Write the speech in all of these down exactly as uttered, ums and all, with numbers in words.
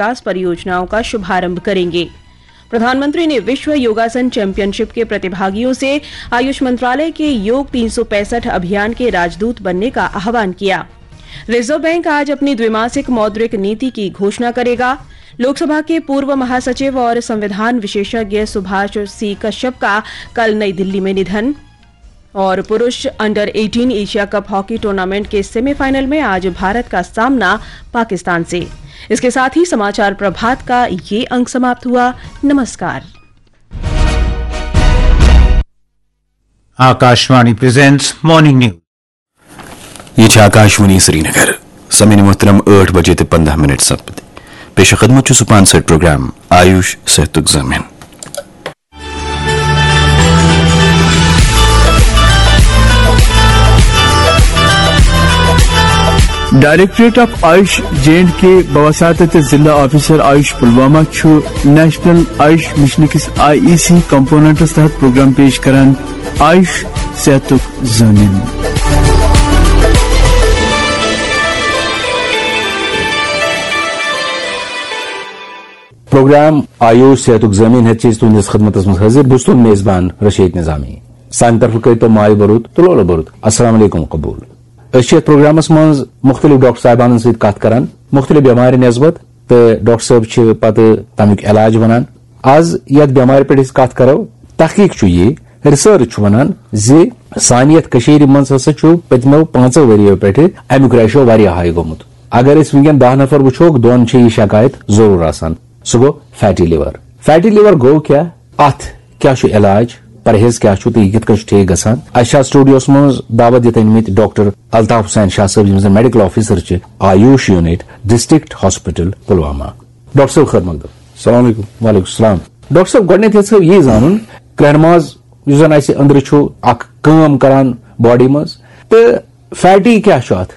विकास परियोजनाओं का शुभारंभ करेंगे। प्रधानमंत्री ने विश्व योगासन चैंपियनशिप के प्रतिभागियों से आयुष मंत्रालय के योग तीन सौ पैंसठ अभियान के राजदूत बनने का आह्वान किया। रिजर्व बैंक आज अपनी द्विमासिक मौद्रिक नीति की घोषणा करेगा। लोकसभा के पूर्व महासचिव और संविधान विशेषज्ञ सुभाष सी कश्यप का कल नई दिल्ली में निधन। और पुरुष under eighteen Asia cup hockey tournament के सेमीफाइनल में आज भारत का सामना पाकिस्तान से। इसके साथ ही समाचार प्रभात का ये अंक समाप्त हुआ। नमस्कार। Akashvani presents Morning News. یہ چھِ آکاشوانی سرینگر۔ سامعین محترم، ٲٹھ بجے تہٕ پنٛداہ منٹ سپد۔ پیش خدمت چھُ سپانسرڈ پروگرام آیوش صحتُک ضامن۔ Directorate of AYUSH J and K بوساطت ضلع آفیسر آیوش پلوامہ چھُ نیشنل آیوش مشن کِس آئی ای سی کمپوننٹس تحت پروگرام پیش کران آیوش صحتُک ضامن۔ پروگرام آیوش صحتُک ضامن ہیتھ چھِ أسۍ تُہنٛدِس خدمتس منٛز حٲضِر۔ بہٕ چھُس تُہُنٛد میزبان رشید نظامی۔ سانہِ طرفہٕ کٔرۍ تو مایہِ بروت تہٕ لولہٕ بروت۔ السلام علیکم قبول۔ أسۍ چھِ یتھ پروگرامس منٛز مختلف ڈاکٹر صاحبانن سۭتۍ کتھ کران، مختلف بٮ۪مارِ نسبت، تہٕ ڈاکٹر صٲب چھِ پتہٕ تمیُک علاج ونان۔ از یتھ بٮ۪مارِ پٮ۪ٹھ أسۍ کتھ کرو، تحقیق چھُ یہِ، ریسرچ چھُ ونان زِ سانہِ یتھ کٔشیٖرِ منٛز ہسا چھُ پٔتمیو پانٛژو ؤرِیو پٮ۪ٹھٕ امیُک ریشو واریاہ ہاے گوٚمُت۔ اگر أسۍ وٕنکیٚن دَہ نفر وٕچھوکھ، دۄن چھِ یہِ شکایت ضروٗر آسان۔ سُہ گوٚو فیٹی لیور۔ فیٹی لیور گوٚو کیٛاہ؟ اتھ کیٛاہ چھُ علاج؟ پرہیز کیٛاہ چھُ تہٕ یہِ کِتھ کٔنۍ چھُ ٹھیک گژھان؟ اسہِ چھِ اتھ سٹوڈیوس منٛز دعوت دِتھ أنمٕتۍ ڈاکٹر الطاف حسین شاہ صٲب، یِم زن میڈیکل آفیسر چھِ AYUSH unit district hospital Pulwama. Doctor صٲب، خٲر مقدم۔ السلام علیکم۔ وعلیکم السلام۔ ڈاکٹر صٲب، گۄڈٕنیتھ یژھو یی زانُن، کرٛہنہِ ماز یُس زن اسہِ أنٛدرٕ چھُ، اکھ کٲم کران باڈی منٛز، تہٕ فیٹی کیٛاہ چھُ اتھ؟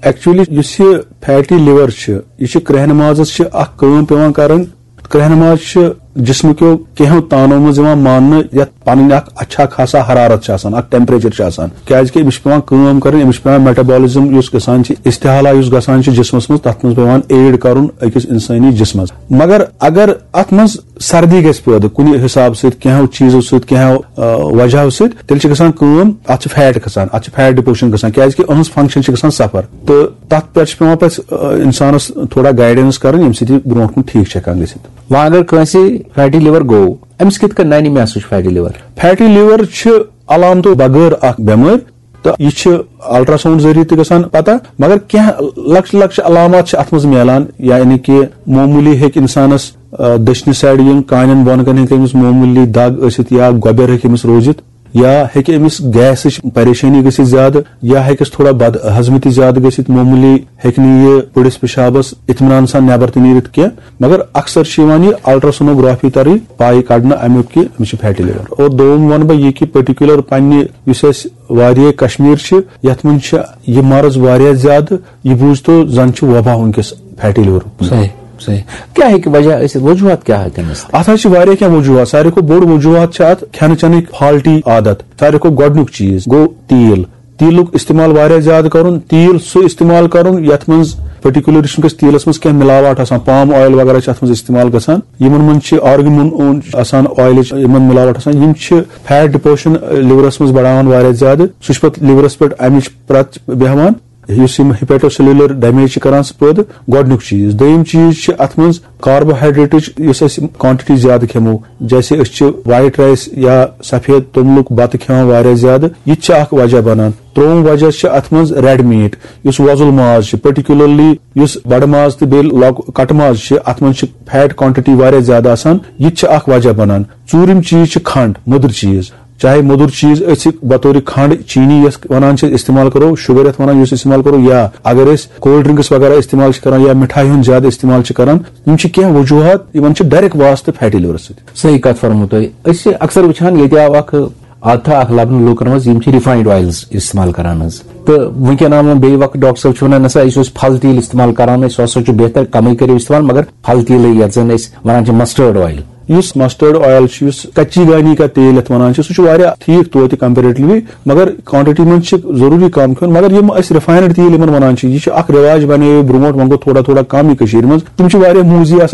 ایکچولی یُس یہِ فیٹی لیور چھِ، یہِ چھِ کرٛہنہِ مازس چھِ اکھ کٲم پٮ۪وان کرٕنۍ۔ کرٛہنہِ ماز چھِ جسمہٕ کیو کینٛہو تانو منٛز یِوان ماننہٕ، یتھ پنٕنۍ اکھ اچھا خاصا حرارت چھِ آسان، اکھ ٹیمپریچر چھِ آسان، کیازِ کہِ أمِس چھِ پٮ۪وان کٲم کرٕنۍ، أمِس چھِ پٮ۪وان میٹابولزم یُس گژھان چھِ، استحالہ یُس گژھان چھِ جسمس منٛز، تتھ منٛز پٮ۪وان ایڈ کرُن أکِس انسٲنی جسمس۔ مگر اگر اتھ منٛز سردی گژھِ پٲدٕ کُنہِ حساب سۭتۍ، کینٛہو چیٖزو سۭتۍ، کینٛہو، آ، وجہو سۭتۍ، تیٚلہِ چھِ گژھان کٲم، اتھ چھِ فیٹ کھسان، اتھ چھِ فیٹ ڈِپوزشن گژھان، کیازِ کہِ أہنٛز فنکشن چھِ گژھان سفر، تہٕ تتھ پٮ۪ٹھ چھِ پٮ۪وان پتہٕ، آ، انسانس تھوڑا گایڈنس کرٕنۍ، ییٚمہِ سۭتۍ یہِ برونٛٹھ کُن ٹھیٖک چھِ ہٮ۪کان گٔژھِتھ۔ وۄنۍ اگر کٲنٛسہِ فیٹی لیور گوٚو، أمِس کِتھ کٔنۍ ننہِ محسوس فیٹی لیور؟ فیٹی لیور چھِ علامتو بغٲر اکھ بٮ۪مٲرۍ، تہٕ یہِ چھِ الٹراساؤنڈ ذٔریعہٕ تہِ گژھان پتہ، مگر کینٛہہ لۄکچہِ لۄکچہِ علامات چھِ اتھ منٛز میلان، یعنی کہِ معموٗلی ہیٚکہِ انسانس، آ، دٔچھنہِ سایڈٕ یِم کانٮ۪ن بۄن کَنہِ ہیٚکہِ أمِس معموٗلی دگ ٲسِتھ یا گۄبٮ۪ر ہیٚکہِ أمِس روٗزِتھ، یا ہیٚکہِ أمِس گیسٕچ پریشٲنی گٔژھِتھ زیادٕ، یا ہیٚکٮ۪س تھوڑا بد ہضمی تہِ زیادٕ گٔژھِتھ، معموٗلی ہیٚکہِ نہٕ یہِ پٔڑِس پِشابس اطمینان سان نٮ۪بر تہِ نیٖرِتھ کینٛہہ۔ مگر اکثر چھِ یِوان یہِ الٹراسونوگرافی طرفہٕ پاے کڑنہٕ امیُک کہِ أمِس چھِ فیٹی لیور۔ اور دوٚیِم وَنہٕ بہٕ یہِ کہِ پٔٹِکیولر پننہِ یُس اَسہِ وادی کشمیر چھِ، یتھ منٛز چھِ یہِ مرض واریاہ زیادٕ، یہِ بوٗزتو زن چھُ وبا وٕنکیٚس فیٹی لیور۔ صحیح، صحیح۔ کیٛاہ ہیٚکہِ وجہ ٲسِتھ؟ وجوہات کیٛاہ ہیٚکن ٲسِتھ؟ اتھ حظ چھِ واریاہ کینٛہہ وجوہات۔ ساروی کھۄتہٕ بوٚڑ وجوہات چھِ اتھ کھٮ۪نہٕ چٮ۪نٕکۍ فالٹی عادت۔ ساروی کھۄتہٕ گۄڈٕنیُک چیٖز گوٚو تیٖل۔ تیٖلُک استعمال واریاہ زیادٕ کرُن، تیٖل سُہ استعمال کرُن یتھ منٛز پٔٹِکیولرلی چھُنہٕ کٲنٛسہِ تیٖلس منٛز کینٛہہ ملاوٹ آسان، پام آیل وغیرہ چھِ اتھ منٛز استعمال گژھان، یِمن منٛز چھِ آرگمون آسان، آیلٕچ یِمن ملاوٹ آسان، یِم چھِ فیٹ ڈِپوزشن لیورس منٛز بڑاوان واریاہ زیادٕ، سُہ چھُ پتہٕ لیورس پٮ۪ٹھ امِچ پرٛت بیہوان، یُس یِم ہیپیٹوسیلولر ڈیمیج چھِ کران سُہ پٲدٕ۔ گۄڈٕنیُک چیٖز۔ دوٚیِم چیٖز چھِ اتھ منٛز کاربوہائیڈریٹٕچ یُس أسۍ کوانٹٹی زیادٕ کھٮ۪مو، جیسے أسۍ چھِ وائٹ رائس یا سفید توٚملُک بتہٕ کھٮ۪وان واریاہ زیادٕ، یہِ تہِ چھِ اکھ وجہ بنان۔ ترٛووُم وجہ چھِ اتھ منٛز ریڈ میٹ، یُس وۄزُل ماز چھُ، پٔٹِکیولرلی یُس بڑٕ ماز تہٕ بیٚیہِ لۄک-، کٹہٕ ماز چھِ، اتھ منٛز چھِ فیٹ کوانٹٹی واریاہ زیادٕ آسان، یہِ تہِ چھِ اکھ وجہ بنان۔ ژوٗرِم چیٖز چھِ کھنٛڈ، مٔدٕر چیٖز، چاہے مٔدُر چیٖز أسۍ بطور کھنٛڈ، چینی یۄس ونان چھِ، استعمال کرو، شُگر یتھ ونان، یُس استعمال کرو، یا اگر أسۍ کولڈ ڈرنکس وغیرہ استعمال چھِ کران یا مِٹھایہِ ہُنٛد زیادٕ استعمال چھِ کران، یِم چھِ کینٛہہ وجوہات، یِمن چھِ ڈائریکٹ واسطہٕ فیٹی لیورس سۭتۍ۔ صحیح کتھ فرمو تۄہہِ۔ أسۍ چھِ اکثر وٕچھان، ییٚتہِ آو اکھ عادتھا اکھ لبنہٕ، لوٗکن منٛز یِم چھِ ریفاینڈ آیلز استعمال کران حظ۔ تہٕ وٕنکیٚن آو وۄنۍ بیٚیہِ وقت ڈاکٹر صٲب چھِ ونان، نسا أسۍ اوس پھل تیٖل استعمال کران، أسۍ سُہ ہسا چھُ بہتر، کمٕے کٔرِو استعمال، مگر پھل تیٖلٕے یتھ زن أسۍ ونان چھِ مسٹٲرڈ آیل، یُس مسٹرڈ آیل چھُ، یُس کچی گانی کا تیل یتھ ونان چھِ، سُہ چھُ واریاہ ٹھیٖک توتہِ کمپیریٹلی، مگر کوانٹٹی منٛز چھِ ضروٗری کم کھیوٚن۔ مگر یِم أسۍ رِفاینڈ تیٖل یِمن ونان چھِ، یہِ چھُ اکھ رٮ۪واج بنیو برونٛٹھ، وۄنۍ گوٚو تھوڑا تھوڑا کم یہِ کٔشیٖرِ منٛز۔ تِم چھِ واریاہ موٗزی آسان۔